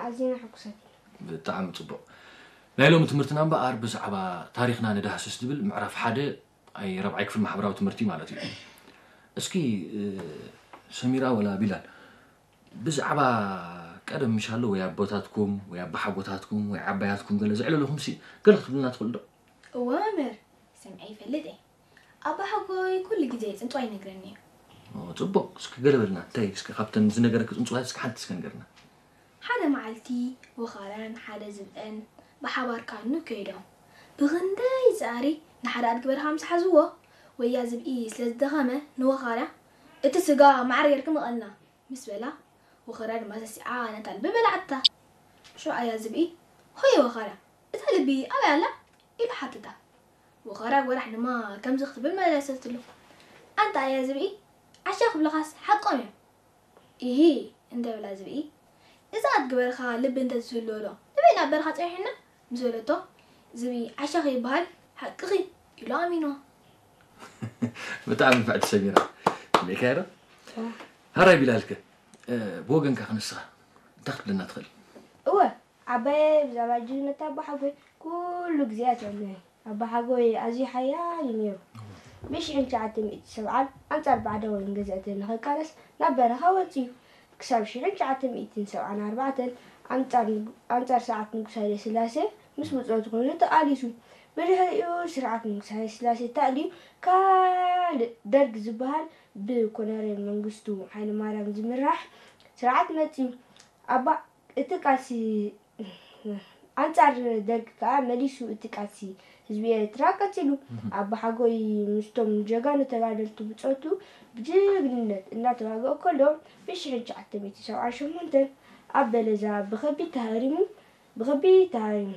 ኣዝና ሕጉሳት ኢና። ብጣዕሚ ጽቡቕ። ናይ ሎሚ ትምህርትና እምበኣር ብዛዕባ ታሪኽና ንዳህስስ ዝብል ምዕራፍ ሓደ ኣይ ራብዓይ ክፍሊ ማሕበራዊ ትምህርቲ ማለት እዩ። እስኪ እ፣ ሰሚራ ወላ ቢላል ብዛዕባ ቀደም ምሻሎ ወይ ኣቦታትኩም ወይ ኣባሓጎታትኩም ወይ ዓባያትኩም ገለ ዘዕለለኹም ሲ ገለ ክትብልና ትኽእሉ ዶ? እወ መምህር፣ ሰምዐ ይፈልጥ እየ። ኣባሓጎይ ኩሉ ግዜ ጽንጽዋ ይነግረኒ እዩ። ኦ፣ ጽቡቕ። እስኪ ገለ በልና። እንታይ እስኪ ካብተን ዝነገረኪ ጽንጽዋያት እስኪ ሓንቲ እስኪ ንገርና። ሓደ መዓልቲ ወኻርያን ሓደ ዝብእን ብሓባር ካኑ ከይዶም። ብኽንደይ ጻዕሪ ንሓደ ኣድጊ በረኻ ምስ ሓዝዎ፣ ወያ ዝብኢ ስለ ዝደኸመ ንወኻርያ እቲ ስጋ ማዕረ ጌርኪ ምቐልና ምስ በላ፣ ወኻርያ ድማ ሰሲዓ ነታ ልቢ በላዓታ። ሽዑ ኣያ ዝብኢ፣ ሆየ ወኻርያ፣ እታ ልቢ ኣበይ ኣላ? ኢሉ ሓተታ። ወኻርያ ጓራሕ ድማ ከምዚ ክትብል መለሰትሉ። ኣንታ ኣያ ዝብኢ፣ ዓሻ ክብልኻስ ሓቆም እዮም። ኢሂ እንተ በላ ዝብኢ፣ እዛ ኣድጊ በረኻ ልቢ እንተዝህልዎ ዶ ንበይና ኣብ በረኻ ጸኒሑና? ምስ በለቶ፣ ዝብኢ ዓሻ ከይበሃል ሓቅኺ ኢሉ ኣሚንዋ። ብጣዕሚ ንፍዕቲ ሰሚራ። ስሚዕካዮ ዶ? ሃራይ ቢላልከ ብወገንካ ክንስኻ እንታይ ክትብለና ትኽእል? እወ ዓባየ ብዛዕባ ጅግንነት ኣቦሓጎይ ኩሉ ግዜ ኣትዕልለይ። ኣቦሓጎይ ኣዝዩ ሓያል እዩ ነይሩ። ብ ሽሕን ትሽዓተ ሚእቲ ሰብዓን ኣንጻር ባዕዳውያን ገዛእቲ ንኽቃለስ ናብ በረኻ ወጺኡ። ክሳብ ሽሕን ትሽዓተ ሚእትን ሰብዓን ኣርባዕተን ኣንጻር ስርዓት ንጉስ ሃይለስላሴ ምስ ብጾቱ ኮይኑ ተቓሊሱ። ብድሕሪኡ ስርዓት ንጉስ ሃይለስላሴ ተኣልዩ ካልእ ደርግ ዝበሃል ብኮነሬል መንግስቱ ሃይለማርያም ዝምራሕ ስርዓት መጺኡ። ኣባ እቲ ቃልሲ ኣንጻር ደርግ ከኣ መሊሱ እቲ ቃልሲ ህዝቢ ኤርትራ ቀጺሉ። ኣባሓጎይ ምስቶም ጀጋኑ ተጋደልቲ ብጾቱ ብጅግንነት እናተዋግኦ ከሎ ብሽሕን ትሽዓተ ሚእቲ ሰብዓን ሸሞንተን ኣብ በለዛ ብኸቢድ ተሃሪሙ ብኸቢድ ተሃሪሙ።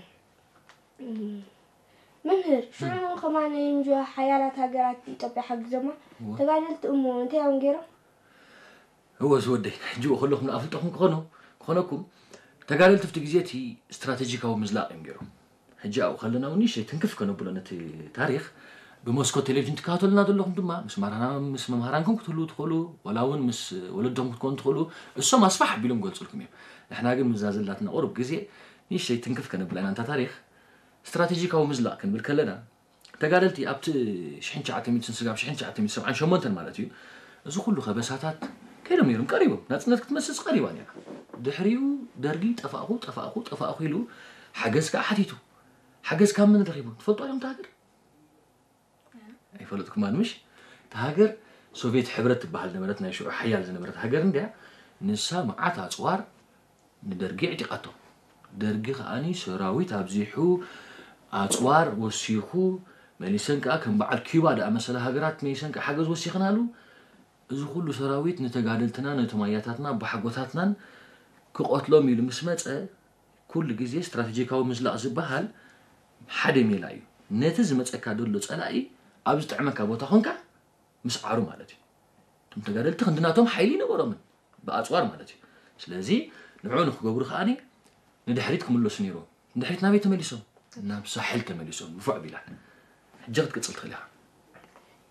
መምህር ሽዑ ከማን ኤንጆ ሓያላት ሃገራት ኢትዮጵያ ሓጊዞማ ተጋደልቲ እሞ እንታይ እዮም ገይሮም? እወ ዝወደይ ሕጂ ከለኹም ንኣፍልጦኹም ክኾኑ ክኾነኩም ተጋደልቲ ኣብቲ ግዜ እቲ ስትራቴጂካዊ ምዝላቕ እዮም ገይሮም። ሕጂ ኣብኡ ከለና እውን ንእሽተይ ትንክፍ ከነብሎ ነቲ ታሪኽ ብመስኮት ቴሌቪዥን ትከታተሉና ዘለኹም ድማ ምስ ማራና ምስ መምሃራንኩም ክትህልዉ ትኽእሉ ወላ እውን ምስ ወለዶም ክትኮኑ ትኽእሉ እሶም ኣስፋሕ ኣቢሎም ክገልፁልኩም እዮም። ንሕና ግን ምዛ ዘላትና ቁሩብ ግዜ ንእሽተይ ትንክፍ ከነብላ ኢና እንታ ታሪኽ ስትራቴጂካዊ ምዝላቕ ክንብል ከለና ተጋደልቲ ኣብቲ ሽሕን ትሽዓተ ሚእትን ስጋብ ሽሕን ትሽዓተ ሚእትን ሰብዓን ሸሞንተን ማለት እዩ እዚ ኩሉ ከበሳታት ከይዶም ነይሮም ቀሪቦም ናፅነት ክትመስስ ቀሪባ ነይራ ድሕሪኡ ደርጊ ጠፋእኹ ጠፋእኹ ጠፋእኹ ኢሉ ሓገዝ ከዓ ሓቲቱ ሓገዝ ካብ መን ረኺቡ ትፈልጦ እዮም ሃገር ኣይፈለጥኩማን ምሽ እቲ ሃገር ሶቪየት ሕብረት ትበሃል ነበረት ናይ ሽዑ ሓያል ዝነበረት ሃገር እንድያ ንሳ መዓት ኣፅዋር ንደርጊ ኣዕጢቓቶ። ደርጊ ከኣ ሰራዊት ኣብዚሑ፣ ኣጽዋር ወሲኹ፣ መሊሰን ከኣ ከም በዓል ኪዩባ ዝኣመሰላ ሃገራት መሊሰን ከኣ ሓገዝ ወሲኽናሉ። እዚ ኩሉ ሰራዊት ንተጋደልትና፣ ነቶም ኣያታትና፣ ኣቦሓጎታትናን ክቐትሎም ኢሉ ምስ መጸ፣ ኩሉ ግዜ ስትራተጂካዊ ምዝላቕ ዝበሃል ሓደ ሜላ እዩ። ነቲ ዝመጸካ ዘሎ ጸላኢ ኣብ ዝጥዕመካ ቦታ ኾንካ ምስዓሩ ማለት እዩ። እቶም ተጋደልቲ ክንዲ ናቶም ሓይሊ ይነበሮምን ብኣፅዋር ማለት እዩ። ስለዚ ንዕኡ ንክገብሩ ከዓኒ ንድሕሪት ክምለሱ ነይሮም። ንድሕሪት ናበይ ተመሊሶም? ናብ ሳሕል ተመሊሶም። ንፉዕ ቢላል። ሕጂ ክትቅፅል ትኽእል ኢኻ።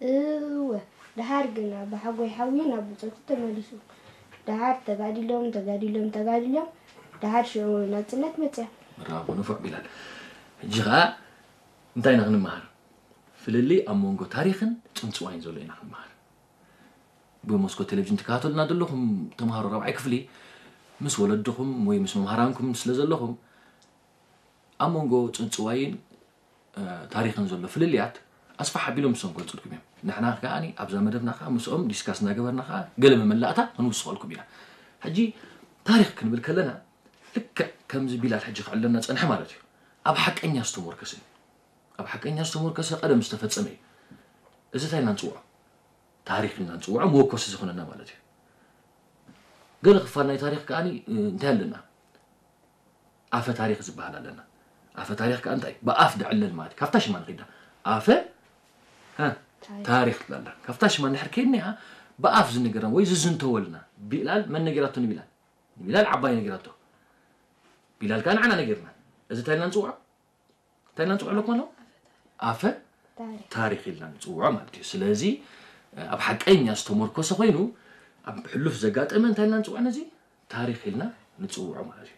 እወ፣ ደሓር ግን ኣባሓጎይ ሓውዩ ናብ ብጾቱ ተመሊሱ። ደሓር ተጋዲሎም ተጋዲሎም ተጋዲሎም ደሓር ሽዑ ናጽነት መጽያ። ብራቮ ንፉዕ ቢላል። ሕጂ ኸዓ እንታይ ኢና ክንመሃር? ፍልልይ ኣብ መንጎ ታሪኽን ጽንጽዋይን ዘሎ ኢና ክንመሃር። ብመስኮት ቴሌቪዥን ትከታተሉና ዘለኹም ተምሃሮ ራብዓይ ክፍሊ ምስ ወለድኹም ወይ ምስ መምሃራንኩም ስለ ዘለኹም ኣብ መንጎ ጽንጽዋይን ታሪኽን ዘሎ ፍልልያት ኣስፋሕ ኣቢሎም ንሶም ክገልጹልኩም እዮም። ንሕና ከኣ ኣብዛ መደብና ከኣ ምስኦም ዲስካስ እናገበርና ከኣ ገለ መመላእታ ክንውስኸልኩም ኢና። ሕጂ ታሪኽ ክንብል ከለና ልክዕ ከምዚ ቢላል ሕጂ ክዕለና ጸንሐ ማለት እዩ። ኣብ ሓቀኛ ዝተሞርከሰ እዩ። ኣብ ሓቀኛ ዝተሞርከሰ ቀደም ዝተፈጸመ እዩ። እዚ እንታይ ኢልና ንጽውዖ? ታሪኽ ኢልና ንጽውዖ መወከሲ ዝኾነና ማለት እዩ። ገለ ክፋል ናይ ታሪኽ ከኣ እንታይ ኣለና? ኣፈ ታሪኽ ዝበሃል ኣለና። ኣፈ ታሪኽ ከኣ እንታይ? ብኣፍ ድዕለል ማለት እዩ። ካብታ ሽማ ንኺዳ ኣፈ እ፣ ታሪኽ ትብል ኣላ። ካብታ ሽማ እንድሕር ከይድና ብኣፍ ዝንገረና ወይ ዝዝንተወልና ቢላል መን ነጊራቶ ንቢላል? ንቢላል ዓባይ ነጊራቶ። ቢላል ከኣ ንዓና ነጊርና። እዚ እንታይ ኢልና ንጽውዖ? እንታይ ኢልና ንፅውዖ ኣለኩም ኣለዉ ኣፈ ታሪክ ኢልና ንፅውዖ ማለት እዩ ስለዚ ኣብ ሓቀኛ ዝተመርኮሰ ኮይኑ ኣብ ሕሉፍ ዘጋጠመ እንታይ ኢልና ንፅውዖ ነዚ ታሪክ ኢልና ንፅውዖ ማለት እዩ